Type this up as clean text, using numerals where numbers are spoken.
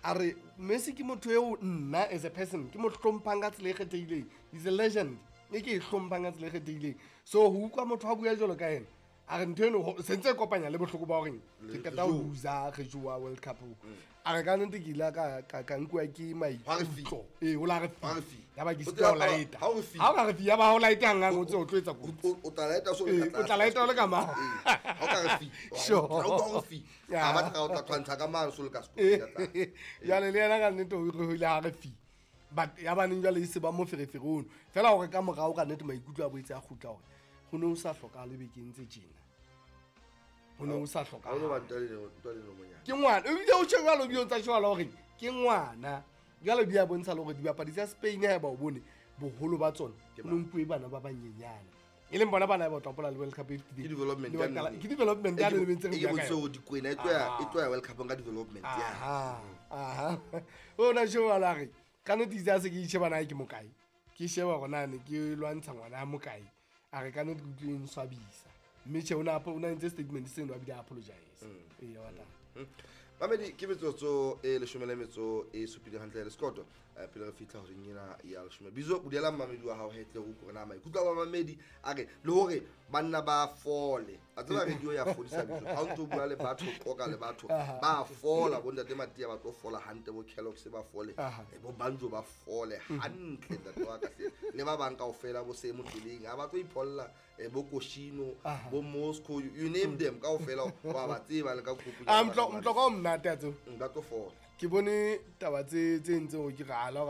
A re Messi ke motho eo nna as a person ke mo hlomphang ka tsela e kgethehileng. He's a legend e ke e hlomphang ka tsela e kgethehileng. So ho utlwa motho a bua jwalo ka ena, a re ntho eno sentse e kopanya le bohloko ba horeng ke qeta ho loser re jowa World Cup. A re ka nnete ke ile ka nkuwa ke maikutlo. Ee, o la re fi. Ya ba ke sitwa ho laeta. Ha o re fi. Ha o ka re fi, ya ba ha o laeta hanghang, o tse o tlo etsa kotsi. O tla laeta so le Ee, ka o tla laeta o le ka mang. Ee, ha o ka re fi. Sure. Ha o ka re fi. Ya. Ha ba tla o tla tshwantsha ka mane so le ka sekolo ka tlase. Jwale le yena ka nnete o re ho ile ha re fi. But ya baneng jwale e se ba moferefere ono. Fela hore ka morao ka nnete maikutlo a boetse a kgutla hore ho ne ho sa hlokahale bekeng tse tjena. Ho ne ho sa Ha o no ba hlokahale. ntwa le monyane. Ke ngwana. Ebile o tjho jwalo, ebile o ntsa tjho jwalo hore ke ngwana. Jwale di a bontsha le hore dibapadi tsa Spain ha eba o bone boholo ba tsona Ke ho no nkuwe bana ba banyenyane. E leng bona bana ba tla hopola le World Cup e fetileng. Ke development Le ya ba qala- nnete. ke development ya E ke- nnete ntse re e ke bua ka bontshe yona. hore Dikwena e tlo ya World Cup ka development ya. Aha, aha. O na tjho jwalo a re, ka nnete itse ha se ke itjheba na ke mokae. Ke sheba hore na ne ke lwantsha ngwana a mokae. A re ka nnete ke utlwile e nswabisa. Mme tjhe, o na entse statement seno a bile a apologize. Ee, wa tla. Mamedi, ke metsotso e leshome le metso e supileng hantle le sekoto. Pele re fihla horeng ena ya leshome. Bizo, bulela mmamedi wa hao hetle ho utlwe hore na maikutlo a bamamedi a re le hore banna ba fole. A tseba radio ya fodisa Bizo. Ha o ntso bua le batho, o qoqa le batho, ba fola, bo ntate Matia ba tlo fola hantle, bo Kellogg's ba fole, bo Banjo ba fole hantle, ntate wa ka hle. Le ba bang kaofela bo se motleleng, ha ba tlo ipholla, bo Koshino, bo Moscow, you name them kaofela, wa ba tseba le ka group ya Ah, ba motlo ka o monate a tseo. Ba tlo fola. Ke bone taba tse entseng hore ke re ala hore